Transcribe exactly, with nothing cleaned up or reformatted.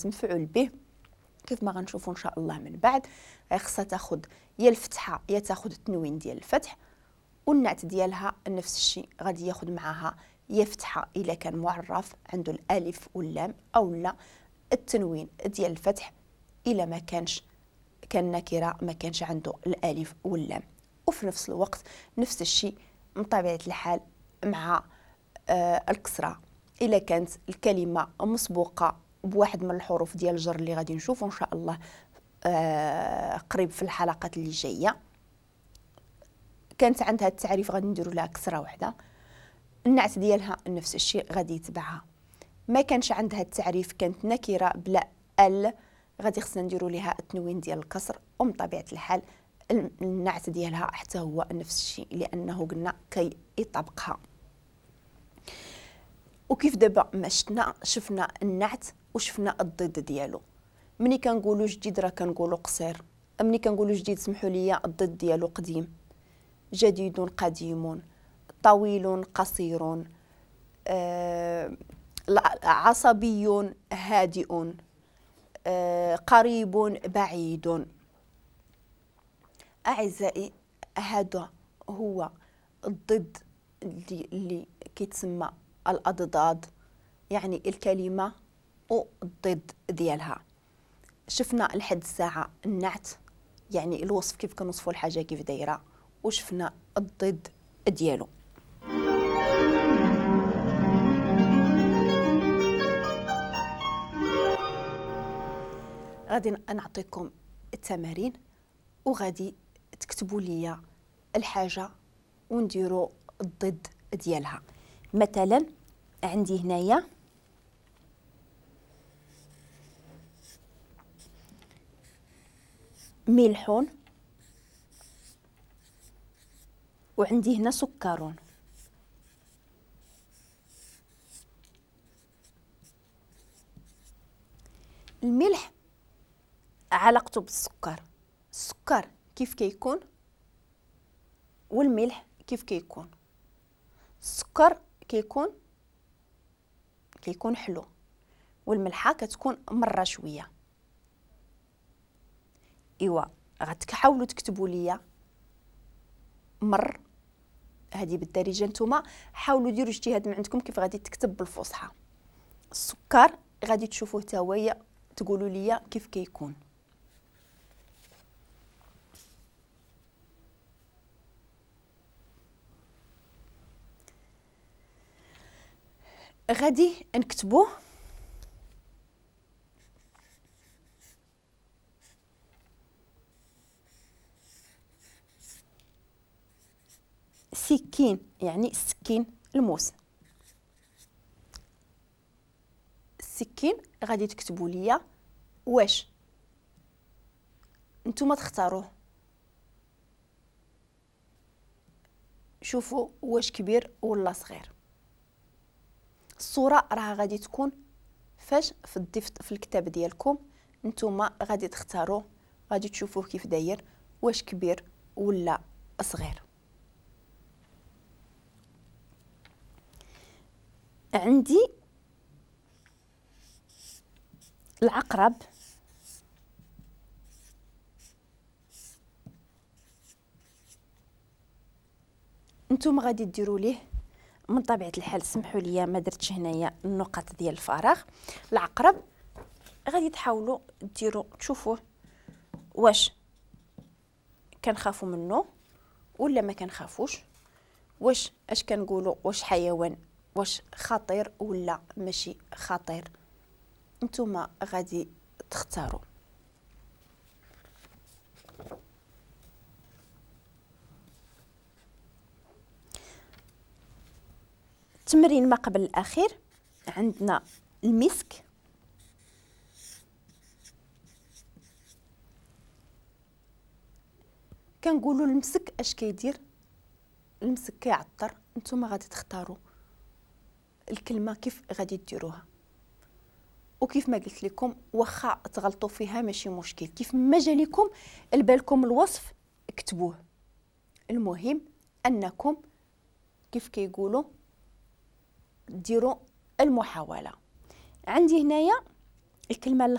مفعول به كيف ما غنشوفوا ان شاء الله من بعد. خصها تاخذ يا الفتحة يا تاخذ التنوين ديال الفتح، والنعت ديالها نفس الشيء غادي ياخذ معاها يا فتحه الا كان معرف عنده الالف واللام، او لا التنوين ديال الفتح الا ما كانش كان نكره ما كانش عنده الالف واللام. وفي نفس الوقت نفس الشيء من طبيعة الحال مع آه الكسرة الا كانت الكلمة مسبوقة بواحد من الحروف ديال الجر اللي غادي نشوفوا ان شاء الله آه قريب في الحلقات اللي جاية، كانت عندها التعريف غادي نديروا لها كسره واحدة، النعت ديالها نفس الشيء غادي يتبعها. ما كانش عندها التعريف كانت نكره بلا ال غادي خصنا نديروا لها التنوين ديال الكسر، ومن طبيعة الحال النعت ديالها حتى هو نفس الشيء لانه قلنا كي يطبقها. وكيف دابا ما شفنا شفنا النعت وشفنا الضد ديالو. ملي كنقولوا جديد راه كنقولوا قصير، ملي كنقولوا جديد سمحوا لي الضد ديالو قديم، جديد قديم، طويل قصير، آه، عصبي هادئ، آه، قريب بعيد. أعزائي هذا هو الضد اللي, اللي كيتسمى الأضداد، يعني الكلمة والضد ديالها. شفنا لحد الساعة النعت يعني الوصف كيف كنوصفوا الحاجة كيف دايرة، وشفنا الضد ديالو. غادي نعطيكم التمارين وغادي تكتبوا لي الحاجة ونديروا الضد ديالها. مثلا عندي هنايا ملح وعندي هنا سكر. الملح علاقته بالسكر، السكر كيف كيكون والملح كيف كيكون. السكر كيكون كيكون حلو والملحه كتكون مرة شوية. ايوا غتحاولوا تكتبوا لي مر، هذه بالدارجة، نتوما حاولوا ديروا اجتهاد من عندكم كيف غادي تكتب بالفصحى. السكر غادي تشوفوه تا هو تقولوا لي كيف كيكون. غادي نكتبوه سكين، يعني السكين الموس. السكين غادي تكتبوا لي واش نتوما تختاروه، شوفوا واش كبير ولا صغير. الصورة راه غادي تكون فاش في الدفت في الكتاب ديالكم، نتوما غادي تختاروه، غادي تشوفوه كيف داير واش كبير ولا صغير. عندي العقرب، نتوما غادي ديروا ليه من طبيعة الحال، سمحوا لي ما درتش هنايا النقط ديال الفراغ. العقرب غادي تحاولوا ديروا تشوفوه واش كنخافوا منه ولا ما كنخافوش، واش اش كنقولوا، واش حيوان، واش خطير ولا ماشي خطير. نتوما غادي تختاروا. التمرين ما قبل الأخير عندنا المسك، كنقولوا المسك اش كيدير؟ المسك كيعطر. نتوما غادي تختاروا الكلمة كيف غادي ديروها، وكيف ما قلت لكم واخا تغلطوا فيها ماشي مشكل، كيف ما جا لكم البالكم الوصف اكتبوه. المهم انكم كيف كيقولوا ديروا المحاولة. عندي هنايا الكلمة